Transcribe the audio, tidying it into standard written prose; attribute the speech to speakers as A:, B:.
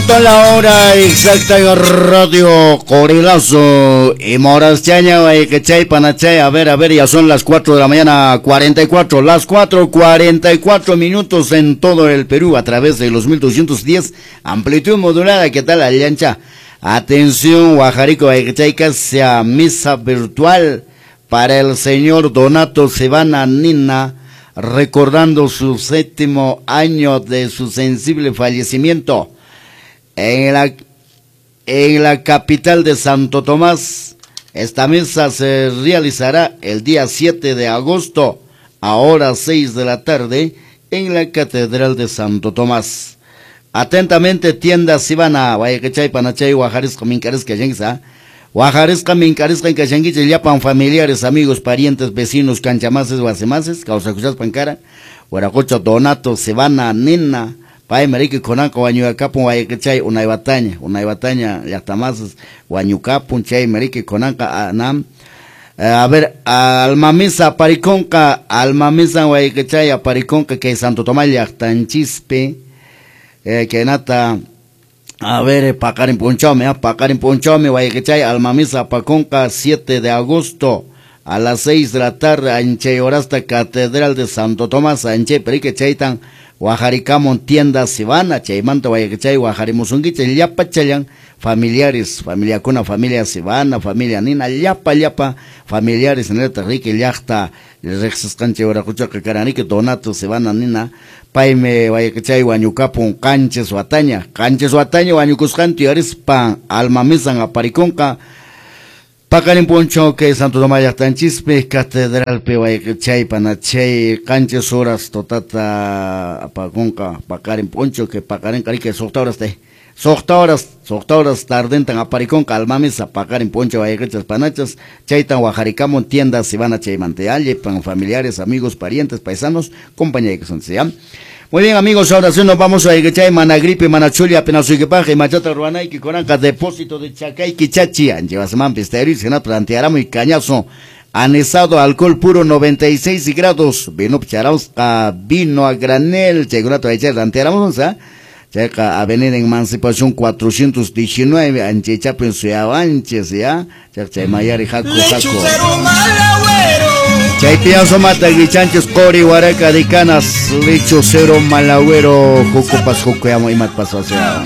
A: Minuto la hora exacta en Radio Corilazo y Moraschaña, Chay, Panachay, a ver, ya son las 4 de la mañana, 44, las 4:44 minutos en todo el Perú a través de los 1210, amplitud modulada, ¿qué tal, Allancha? Atención, Guajarico, Guayquechayca, sea misa virtual para el señor Donato Sivana Nina, recordando su 7º año de su sensible fallecimiento en la capital de Santo Tomás. Esta misa se realizará el día 7 de agosto a horas 6 de la tarde en la Catedral de Santo Tomás. Atentamente, tienda Sivana, Guayquechay, Panachay, Guajarisco, Mincarisca, Yensa, Guajarisca, Mincarisca, Incachanguiche, Yapan, familiares, amigos, parientes, vecinos, canchamases, guasemases, causacuchas, pancara, Guaracocha, Donato, Sivana, Nina, Pai, Marique, Conanco, Guañuacapun, Guayquechay, Unaybataña, Unaybataña, Yactamases, Guañucapun, Chay, Marique, Conanca, Anam. A ver, Almamisa, Apariconca, Almamisa, Guayquechay, Apariconca, que Santo Tomás, Yactanchispe, que nata, a ver, Pacarin Ponchome, Pacarin Ponchome, Guayquechay, Almamisa, Paconca, 7 de agosto a las 6 de la tarde, Anchay Orasta, Catedral de Santo Tomás, Anchay, Perique, Chaitan, Guajaricamon, tienda Sivana, Chaymanta, Guayquechay, Guajarimusunguiche, Llapa, Chayan, familiares, familia Cuna, familia Sivana, familia Nina, Llapa, Llapa, familiares, Neta, Rique, Llacta, Rexescanche, Oracuchaca, Caranique, Donato, Sivana, Nina, Paime, Guayquechay, Guañucapun, Canches, Huataña, Canches, Huataña, Guañucuscanti, Arispa, Almamisan, Apariconca, Pacarín Poncho, que Santo Tomás Yactanchispe, Catedral Pehuayquechay, Panachay, Canches horas, Totata, Apaconca, Pacarín Poncho, que Pacarín Carique, Socta horas te, Socta horas, tardentan, Apariconca, Almamisa, Pacarín Poncho, Guayquechas, Panachas, Chaitan, Guajaricamon, tiendas, Sivana, Chaymantealle, pan familiares, amigos, parientes, paisanos, compañía que son, ¿sí? Muy bien, amigos, ahora sí nos vamos a Iguechay, Managripe, Manachulia, apenas Uiquepaje, Machata, Ruanayqui, Coranca, depósito de Chacay, Quichachi, Anchevasman, Pisterio, Senat, Plantearamo y Cañazo, anesado, alcohol puro, 96 grados, vino pcharausca, vino a granel, Chegunato, Aiche, Plantearamo, ¿sí? Checa, Avenida Emancipación 419, Anchechapen, Suyabanches, ¿ya? Checa, Mayari, Jaco, Jaco. Chaypiazo mata guichanchos, cori, huaraca, dicanas, lecho cero, malagüero, jucupas, jucuyamo, y mat paso hacia.